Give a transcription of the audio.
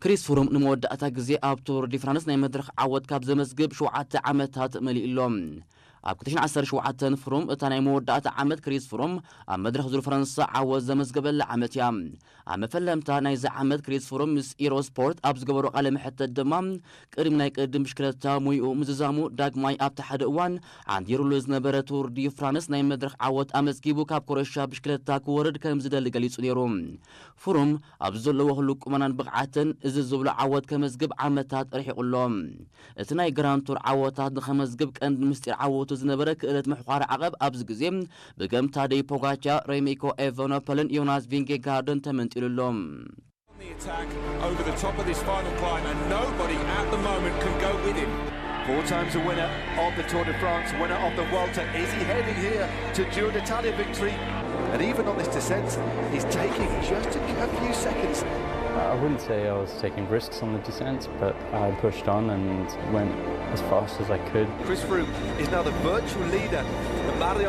ክሪስ ፍሩም ንመወዳእታ ግዜ ኣብ ቱር ዲ ፍራንስ ናይ መድረኽ ዓወት ካብ ዘመዝግብ ሸውዓተ ዓመታት መሊኡ ኣሎ። ኣብ ክልተ ሽሕን ዓሰርተ ሸውዓተን ፍሩም እታ ናይ መወዳእታ ዓመት ክሪስ ፍሩም ኣብ መድረኽ ዙር ፈረንሳ ዓወት ዘመዝገበላ ዓመት እያ። ኣብ መፈለምታ ናይዚ ዓመት ክሪስ ፍሩም ምስ ኢሮ ስፖርት ኣብ ዝገበሮ ቃለ መሕተት ድማ ቅድሚ ናይ ቅድም ብሽክለታ ሙይኡ ምዝዛሙ ዳግማይ ኣብቲ ሓደ እዋን ዓንዲሩሉ ዝነበረ ቱር ዲ ፍራንስ ናይ መድረኽ ዓወት ኣመዝጊቡ ካብ ኮረሻ ብሽክለታ ክወርድ ከም ዝደሊ ገሊጹ ነይሩ። ፍሩም ኣብዚ ዘለዎ ህሉው ቁመናን ብቕዓትን እዚ ዝብሎ ዓወት ከመዝግብ ዓመታት ርሒቑ ኣሎ። እቲ ናይ ግራንድ ቱር ዓወታት ንኸመዝግብ ቀንዲ ምስጢር ዓወቱ ዝነበረ ክእለት ምሕኳር ዓቐብ ኣብዚ ግዜ ብገምታ ደይ ፖጋቻ፣ ሬሚኮ ኤቨኖፐልን ዮናስ ቪንጌጋርድን ተመንጢሉ ኣሎ። On the attack over the top of this final climb, and nobody at the moment can go with him. Four times a winner of the Tour de France, winner of the Vuelta. Is he heading here to Giro d'Italia victory? And even on this descent, he's taking just a, a few seconds. I wouldn't say I was taking risks on the descent, but I pushed on and went as fast as I could. Chris Froome is now the virtual leader. The Mario